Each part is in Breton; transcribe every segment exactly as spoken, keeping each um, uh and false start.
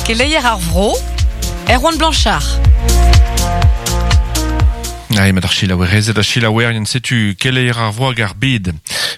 Keleier ar vro, Erwan Blanchard. Ai, mat ar chilaouerezed a chilaouerien setu keleier ar vro hag ar bed.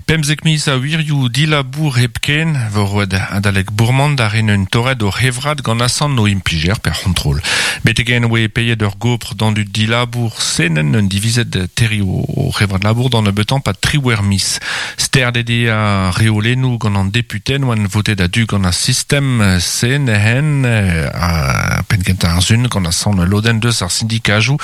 Pemzek miz a wirioù dilabour hepken, vo roet adalek bourmand ar en un torret o hevrad gant asan no implijer per c'hontrol. Betegen oe peiet ur gopr dan du dilabour senen un divizet terri o, o hevrad labour dan betan pa triwer mis. Sterdede a reolenou gant an deputen oan votet a du gant ar sistem sen hen a penkenta ar zun gant asan loden deus ar syndikajou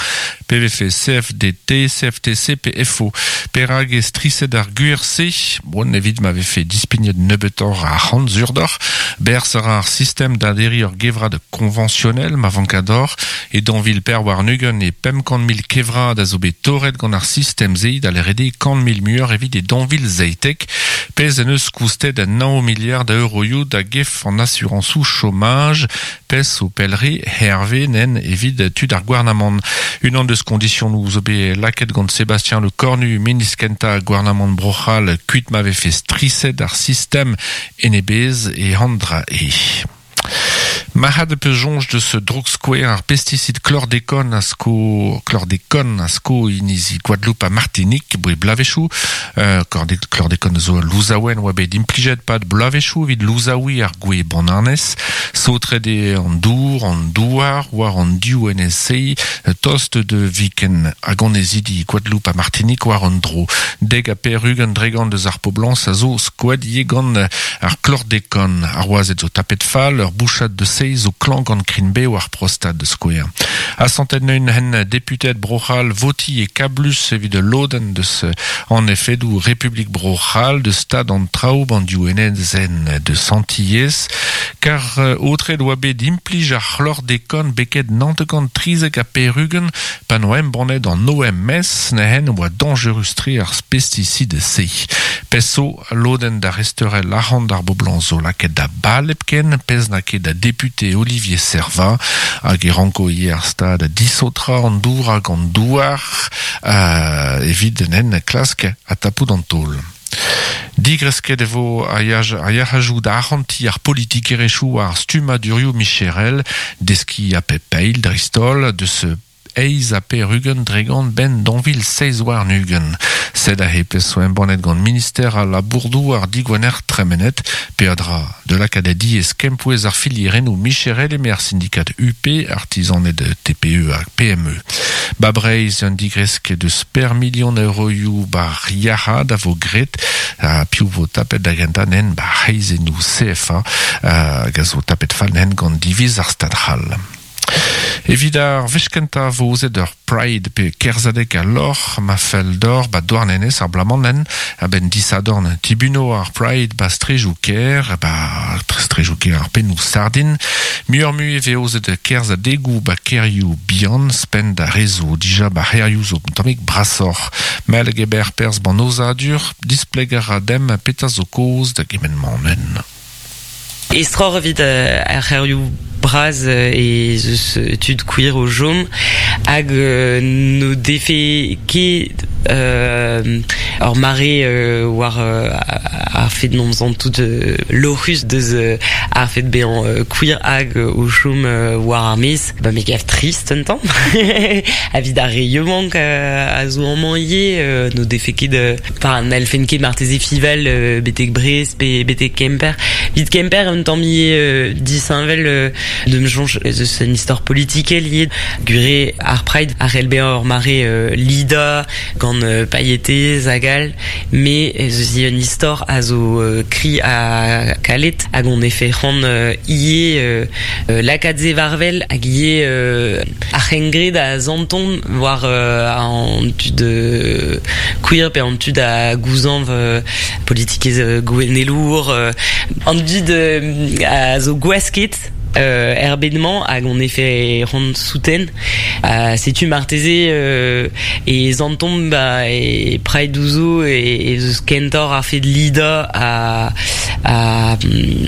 P V F, C F D T, C F T C, P F O. Perag e striset ar gwir-se, bon, evit m'ave fait dispignet nebetor a c'hant zurdor, berz ar ar sistem d'aderi ur gevrad conventionnel ma vankador, e danvil per war nugen e pemp kant mil kevrad a zo bet torret gant ar sistem ze da l'erede kant mil muur evit e danvil zeitek, pez en eus koustet a nao milliard a euroioù da gef an assuransou chômage, pez o pelre Hervé nen evit tud ar gouarnamant. Unan deus kondisionoù zo bet laket gant Sébastien Le Cornu, ministr kenta gouarnamant Bro-C'hall, kuit m'ave fait striset ar sistem enebez e handra e. Marc'had peus soñj deus droug-skouer ar pesticide chlordécone a sko chlordécone a sko inizi Guadeloupe ha Martinique boe blavechoù euh, chlordécone zo louzaouen oa bet implijet pad blavechoù evit louzaoui ar gwe bananez saotret eo an dour an douar war an div N S C tost de viken hag annezidi Guadeloupe ha Martinique war an dro deg ha pevar-ugent dre gant deus ar poblañs a zo skoet ivez gant ar chlordécone ar wazed zo tapet fall ur bouchad de seiz zo klañv gant krign-bev ar prostat da skouer. Asantet neuint hen deputeed Bro-C'hall voti e kablus evit lodenn deus an efedoù Republik Bro-C'hall deus stad an traoù an div enezenn deus Antilhez kar aotreet oa bet implij ar chlordécone beket naontek trizek ha pevar-ugent pa noa embannet an O M S nehen oa dañjerus-tre ar pesticide-se. Pezh zo lodenn da resteurel arc'hant ar boblañs zo lakaet da bal hepken, pezh n'a ket da député Olivier Serva hag e ranko ivez ar stad disaotrañ an dour hag an douar euh, evit nen klask a tapout an taol. Digresket e vo ar yalc'hadoù da arc'hantiñ ar politikerezhioù ar stummadurioù micherel deskiñ a pep eil dreist-holl deus eizh ha pevar-ugent dre gant 'benn daou vil seizh warn-ugent. Sed aze pezh zo embannet gant minister al labour-douar digwener tremenet, peadra de lakaat da diaes kempouez ar filierennoù micherel eme ar syndikat U P, artizaned T P E hag P M E. Ba Breizh un digresk deus per milion euroioù bar yalc'had a vo graet ha piv vo tapet da gentañ nen ba c'hreizennoù C F A hag a zo tapet fall nen gant diviz ar Stad c'hall. Evit ar wech kentañ vo aozet ur Pride pe kerzhadeg al lorc'h ma fell d'or ba Douarnenez ar bloaz-mañ nen a-benn disadorn tibuno ar Pride ba strejoù kêr ba strejoù kêr ar pennoù sardin muioc'h mui e vez aozet kerzhadegoù ba kêrioù bihan ouzhpenn da re zo dija ba c'hêrioù zo un tammig brasoc'h Mael Geber perzh ban aozadur displegañ a ra demp petra zo kaoz da gement-mañ nen. Estroc'h evit euh, ar c'hêrioù bras euh, e zeus tud queer o chom hag euh, no defe ket euh, ur mare euh, war euh, ar fed n'omp tout euh, lorc'hus deus euh, ar fed bezañ euh, queer hag euh, o chom euh, war ar maez ba me gav trist un tamm evit ar re yaouank euh, a zo amañ ivez euh, no defe ket euh, enfin n'hallfen ket marteze fiñval euh, betek Brest pe betek Kemper evit Kemper un tamm ivez euh, disheñvel euh, d'am soñj eus un istor politikel ivez gwir eo ar Pride a c'hell bezañ ur mare euh, lidañ gant euh, pailhetez hag all met ez eus un istor a zo euh, kri ha kalet hag on efe c'hoant euh, ivez euh, euh, lakaat se war-wel hag ivez euh, ar c'hengred a santont war euh, an tud euh, queer pe an tud a gouzañv euh, politikerezh euh, gouennelour euh, an dud euh, a zo gwasket euh, er bed-mañ hag on efe c'hoant souten uh, setu marteze euh, e santomp ba e Pride zo e, e eus kentoc'h ar fed lidañ a a,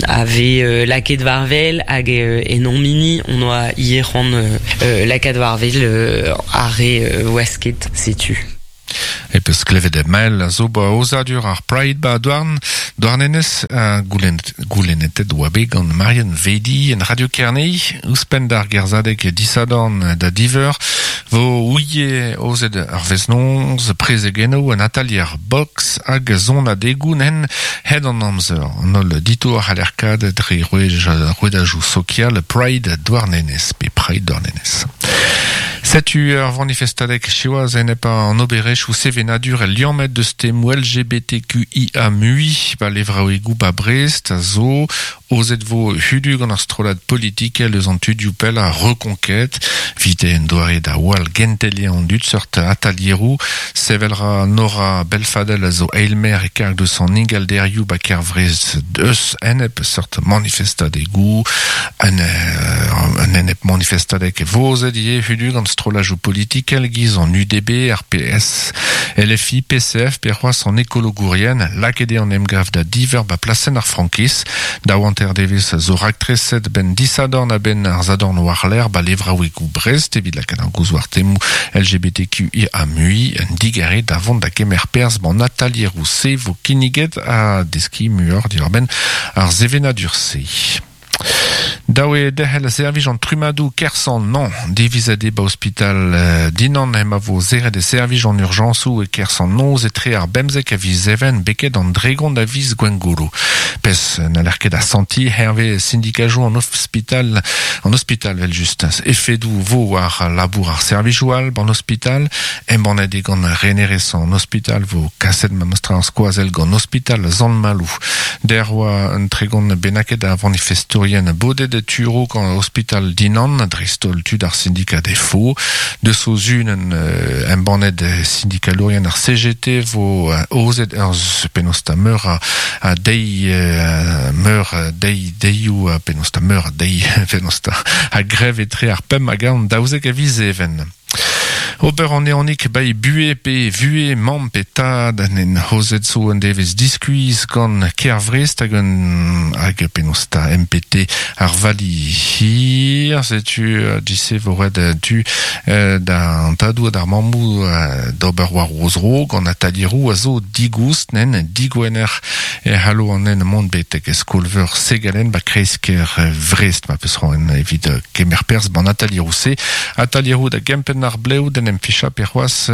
a vez euh, lakaet war-wel hag euh, en hon hini on oa ivez c'hoant euh, euh, lakaat war-wel euh, ar re euh, wasket setu. E peus klevet mael a zo ba ozadur ar Pride ba douarn, douarnenez a goulennetet oa bet gant Marianne Vedi en Radio Kerne, ouzhpenn d'ar gerzadeg disadorn da diver, vo ouie ozet ar veznonz, prezegeno an atalier box hag zon adegoù nen hed an amzer. An ol ditour c'halerkad dre rouedajou sokial Pride douarnenez, pe Pride douarnenez. Setu ur vanifestadeg siwazh enep an oberezh ou sevenadur el liammet deus temoù L G B T Q I A mui ba levraouegoù ba Brest a zo ozet vo hudu gant ar strollad politikel eus an tudioù pell a Reconquête vite en doare da wall gentelie an dud seurt atalieroù sevelra Nora Belfadel a zo eilmer e karg deus an ingalderioù ba Kervrez deus enep seurt manifestadegoù an, an enep manifestadeg vozet ivez hudu gant strollajoù politikel giz an U D B, R P S, L F I, P C F, pe c'hoazh an ekologourien, lakaet eo an emgav da diver ba plasenn ar Frankis, da oanter devez zo raktreset ben disadorn a ben ar zadorn war-lerc'h ba levraouegoù Brest evit lakaat ar gouzoù ar temoù L G B T Q I A mui un digare da vont da kemer perzh ban atalieroù se vo kinniget a deskiñ muioc'h diwar-benn ar sevenadur se. Daoue derc'hel servij an trumadoù Kersan non divizet eo ba ospital euh, Dinan ema vo zeret e servij an urjañsoù e Kersan noz etre ar bemzek a viz even beket an dregont a viz Gwengolo. Pez n'haller ket asanti hervez sindikajoù an ospital an ospital vel just efedoù vo war labour ar servijoù all ban ospital embannet eo gant renerez an ospital vo kaset ma mostra ar skoazell gant ospital Sant-Maloù. Der oa un tregont bennaket a vanifestourien bodet de turo gant ospital Dinan, dreist-holl tud ar syndikat F O, deus o zun euh, embannet syndikalourien ar C G T vo euh, ozet ur penaos ta meur a, a dei euh, meur dei deioù a penaos ta meur dei penaos ta a greve etre ar pemp hag an daouzek a viz even. Ober an eonik bai bue pe vue mamm pe tad en hozet zo un devez diskuizh gant Kervrest hag un hag penaos ta M P T ar vali hir setu dise vo ret tu da an tadou d'ar mammou d'ober war o zro gant atalieroù a zo digoust nen digwener e c'hallo an en mont betek skolveur Segalen ba kreiz-kêr Vrest ma peus roen evit kemer perzh ban atalieroù se atalieroù da gempenn ar blev d'en em ficha pe c'hoazh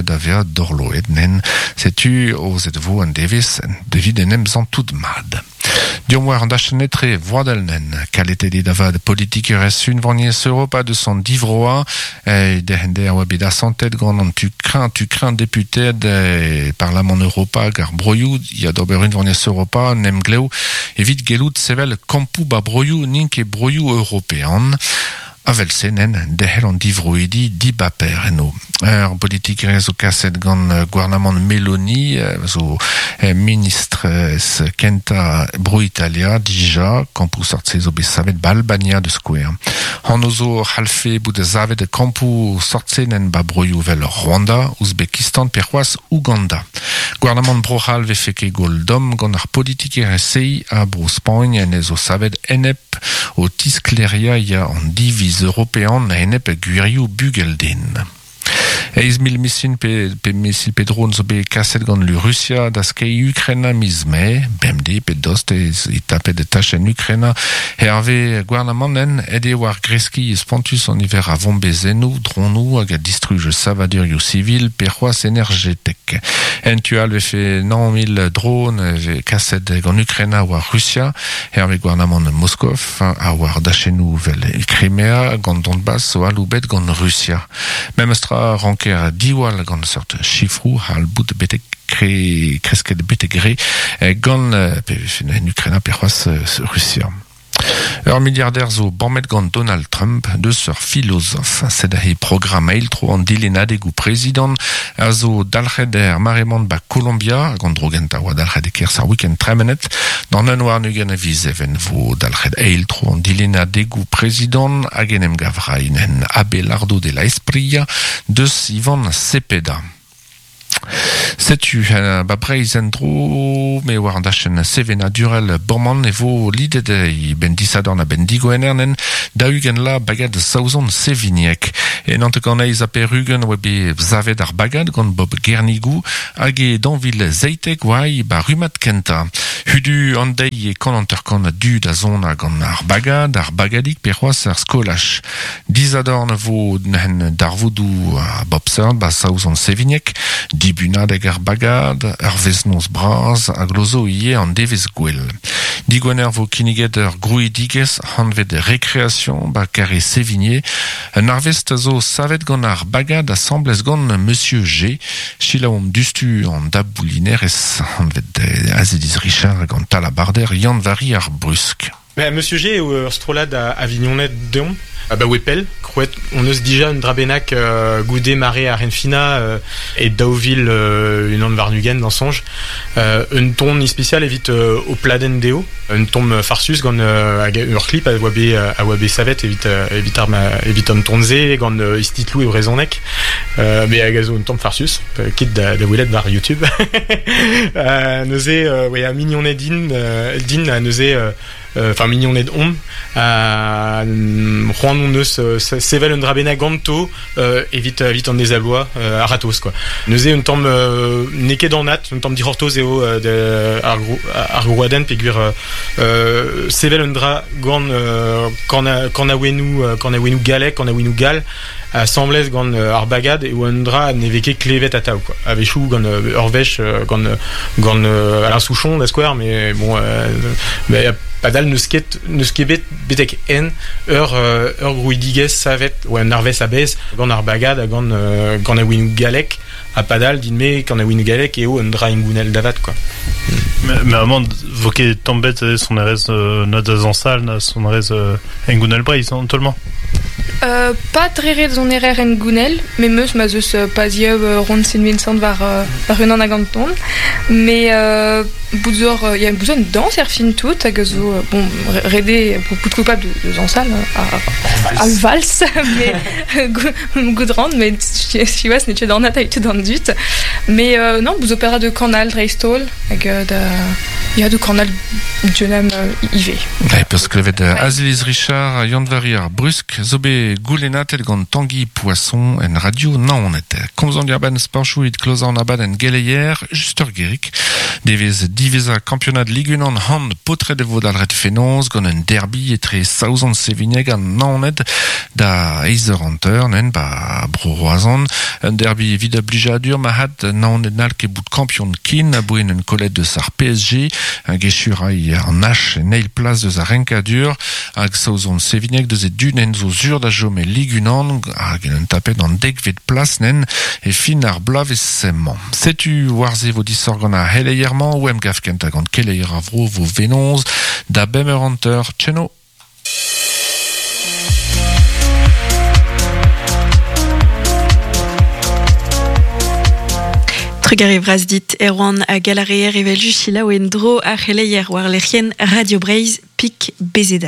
da vezañ dorloet nen setu ozet vo an devez devit en em zantout mad. Diom war an dachenn etre voadel nen kaletet eo da vat politikerezh unvaniezh Europa deus an divroa e derc'hende a oa bet asantet gant an tu kreñv tu kreñv deputed e Parlamant Europa hag ar broioù ya d'ober unvaniezh Europa en emglev evit gellout sevel kampoù ba broioù n'int ket broioù european. Avel senen derc'hel an divroidi dibaper eno. Ur politikerez zo kaset gant gouarnamant Meloni, zo ministr ez kenta bro Italia, dija, kampoù sortse zo bet savet ba Albania de skouer. Hano zo c'hallfe bout savet kampoù sortsenen ba broioù vel Rwanda, Ouzbekistan pe c'hoazh Ouganda. Gouarnamant bro c'hall vefe ket gwall domm gant ar politikerez se a bro Spagn en ez zo savet enep o tiskleria ya an diviz european a enep gwirioù bugelden. Eiz mil misil pe, pe misil pe drone zo bet kaset gant lu Russia da skei Ukraina miz mae, bemdez pe dost ez e tapet tachenn Ukraina herve gouarnamant ed eo war greski spontus an niver a bombezennoù, dronoù hag a distruj savadurioù sivil pe c'hoazh energetek. En tu all vefe nav mil drone ve kaset gant Ukraina war Russia herve gouarnamant Moskov a war dachennoù vel Crimea gant Donbass zo aloubet gant Russia. Memestra ranker diwall gant seurt chifroù hal bout betek kre, kresket betek re gant pe en Ukraina pe c'hoazh Russia. Ur milliardaire zo bammet gant Donald Trump deus ur philosophe. Sed he programm eil-tro an dilennadegoù prezidant a zo dalc'het er maremont ba Colombia gant drogenta oa dalc'het e kerzh ar week-end tremenet. D'an un war nugen a viz even vo dalc'het eil-tro an dilennadegoù prezidant hag en em gavrain en Abelardo de la Espriella deus Ivan Cepeda. Setu uh, ba Breizh en dro me war an dachenn sevenadurel borman e vo lidet e ben disadorn a ben digoenernen da ugent la bagad Saozon Seviniek. E nante gant eiz a perugen oa bet zavet ar bagad gant Bob Gernigou hag e danvil zeitek oai ba rumat kenta. Hudu an deiz e kant anter-kant a du da zona gant ar bagad, ar bagadik pe c'hoaz ar skolach. Dizadorn vo n'hen darvoudou a Bob Seurt ba saouzon Sevignek, dibunadeg ar bagad, ur veznoz braz hag lozo ie an devez gwell. Digwener vo kinniget ur grouidigez hanvet récréation ba kare Sévigné. Un arvest zo savet gant ar bagad asamblez gant Monsieur G. Chilaom dustu an daboulinerez hanvet Aziliz Richard gant Talabarder Yann Vari ar Brusk. Ben, Monsieur G eo ur strollad a Avignonnet deomp, a ba wepel, krouet on eus dija un drabenak euh, goude mare ar Renfina euh, e daouvil euh, un an varnugen dans songe. Euh, un ton ispecial evit euh, o pladen deo, un ton farsus gant euh, hag ur clip a oa bet a oa bet savet evit euh, evit ar ma, evit an tonze gant euh, istitlou e brezonek, euh, mais hag a zo un ton farsus, euh, kit da, da welet war YouTube. euh, neuze, euh, ouais, a mignonnet din, euh, din a neuze euh, enfin mignonnet om a c'hoant on eus sevel un drabena ganto euh, evit evit an dezabloa euh, ar ratos quoi. Neuze un tamm euh, neket an at, un tamm dihortoz eo euh, de, ar, ar grouaden peogwir euh, sevel un dra gant euh, kan kan a ouennou kan a ouennou galek, kan a ouennou gal asamblez gant ar bagad eo un dra ne vez ket klevet atav quoi. A-wechoù gant ur wech gant gant Alain Souchon da skouer, mais bon euh, mais padal neus ket neus ket bet betek en ur ur grouidigez savet ou un arvez a-bez gant ar bagad ha gant gant a ouennou galek ha padal din me gant a ouennou galek eo un dra ingounel davat quoi. Mais, mais amant vo ket tamm bet son erez euh, na da zañsal na son erez euh, engounel breiz an tolmañ. Euh, pas très ret zon erer en gounel, mais meus ma zeus euh, pas zieub euh, rond sin Vincent war, euh, war un an hag an ton. Mais euh, bout zor, euh, y a besoin de danse er fin tout, hag zo, euh, bon, rede pour bout coupable de, de zañsal, a, a vals, mais goudrant, mais siwazh ne ket an at a d'an dut. Mais euh, non, bout opéra de Canal dreistol, hag euh, da, ya de Canal Dionam euh, ive. Ouais, peus klevet ouais. Aziliz Richard, Yann Vari ar Brusk, zo bet goulennatet gant Tanguy Poisson en radio Naoned. Komzan diarbenn sporchou it klozañ an abadenn geleier, just ur gerik. Devez diveza kampionad Ligue un an hand potret e vo dalret fenoz gant un derby etre Saozon Sevigneg an Naoned da eizh eur hanter nen ba bro Roazhon. Un derby evit a blijadur ma had Naoned n'hall ket bout kampion kin a boen un kollet deus ar P S G hag echurai an H en eil plas deus ar renkadur hag Saozon Sevigneg deus e dun en zo zur da jom e Ligue un hag en un tapet an dekvet plas nen e fin ar bloavezh semañ. Setu war-se vo disoc'h gant ar c'heleier-mañ ou em gav kentañ gant keleier ar vro vo venoz da bemp eur hanter tcheno. Trugarez vras dit Erwan a galareer evel just selaou en dro ar c'heleier war lec'hienn Radio Breizh pik bezeda.